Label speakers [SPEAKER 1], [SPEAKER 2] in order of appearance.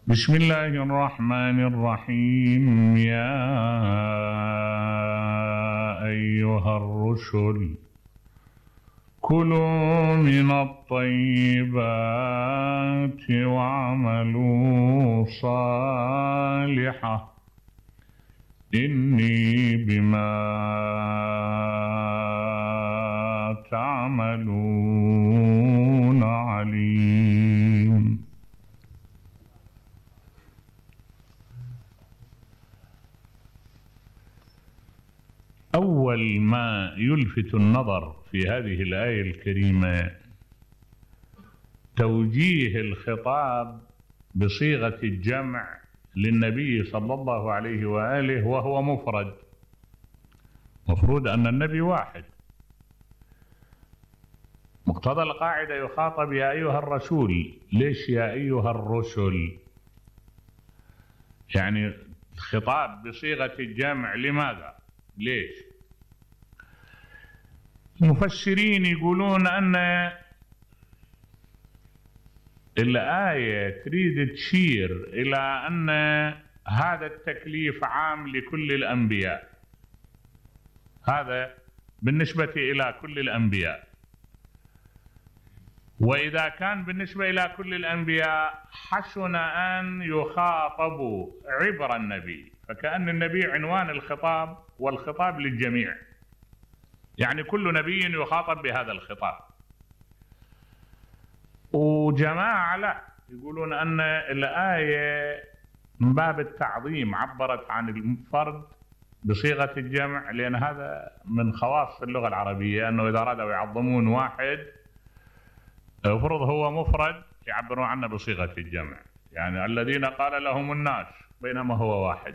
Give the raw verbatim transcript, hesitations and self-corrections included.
[SPEAKER 1] بسم الله الرحمن الرحيم. يا أيها الرسل كلوا من الطيبات واعملوا صالحا إني بما تعملون عليم. أول ما يلفت النظر في هذه الآية الكريمة توجيه الخطاب بصيغة الجمع للنبي صلى الله عليه وآله وهو مفرد. مفروض أن النبي واحد. مقتضى القاعدة يخاطب يا أيها الرسول. ليش يا أيها الرسل؟ يعني الخطاب بصيغة الجمع لماذا؟ ليش؟ المفسرين يقولون أن الآية تريد تشير إلى أن هذا التكليف عام لكل الأنبياء. هذا بالنسبة إلى كل الأنبياء، وإذا كان بالنسبة إلى كل الأنبياء حسن أن يخاطبوا عبر النبي، فكأن النبي عنوان الخطاب والخطاب للجميع، يعني كل نبي يخاطب بهذا الخطاب. وجماعة لا يقولون أن الآية من باب التعظيم عبرت عن الفرد بصيغة الجمع، لأن هذا من خواص اللغة العربية، أنه إذا أرادوا يعظمون واحد يفرض هو مفرد يعبرون عنه بصيغة الجمع، يعني الذين قال لهم الناس بينما هو واحد.